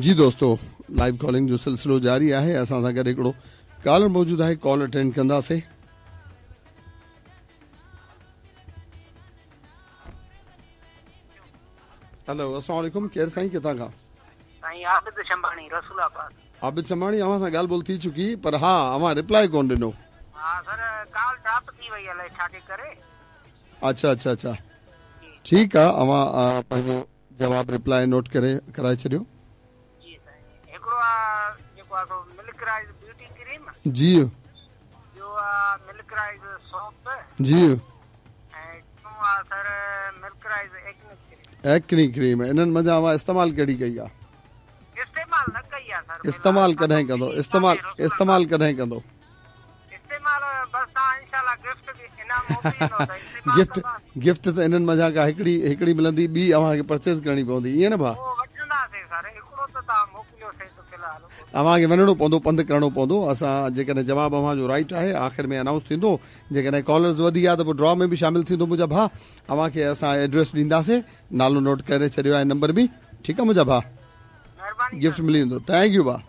جي دوستو live calling جو سلسلو جاري آهي اسان سان گڏ هڪڙو ڪالر موجود آهي ڪال اٽينڊ ڪنداسي. هلو السلام عليڪم ڪير سائين ڪٿان کان؟ سائين عابد شنباڻي رسول آباد. عابد شنباڻي اوهان سان ڳالهه ٻولهه ٿي چڪي پر ها اوهان ريپلائي ڪون ڏنو. ها سر ڪال ڊراپ ٿي وئي الائي ڇا جي ڪري. اڇا اڇا اڇا ٺيڪ آ اوهان پنهنجو جواب ريپلائي نوٽ ڪري ڪرائي ڇڏيو. جي سائين هڪڙو آ جيڪو آ سو ملڪ رائز بيوٽي ڪريم. جي. ٻيو آ ملڪ رائز سوپ. جي. ۽ ٽيون آ sir milk rice acne cream. Acne cream انهن منجهان اوهان استعمال ڪهڙي ڪئي آ؟ استعمال نه ڪئي آ سر. استعمال ڪڏهن ڪندو استعمال استعمال ڪڏهن ڪندو؟ استعمال بس توهان انشاء الله گفٽ به انعام موڪليندو ته استعمال گفٽ گفٽ ته انهن منجهان ڪا هڪڙي هڪڙي ملندي ٻي اوهان کي پرچيز ڪرڻي پوندي ائين نه ڀاء؟ اهو وٺنداسين سر هڪڙو ته توهان موڪليو سي ته في الحال. اوهان کي وڃڻو پوندو پنڌ ڪرڻو پوندو اسان جيڪڏهن جواب اوهان جو رائيٽ آهي آخر ۾ انائونس ٿيندو جيڪڏهن ڪالرز وڌي ويا ته پوء ڊرا ۾ به شامل ٿيندو منهنجا ڀاء اوهان کي اسان ايڊريس ڏينداسين نالو نوٽ ڪري ڇڏيو آهي نمبر به ٺيڪ آهي منهنجا ڀاء گفٽ ملي ويندو thank you ڀاء.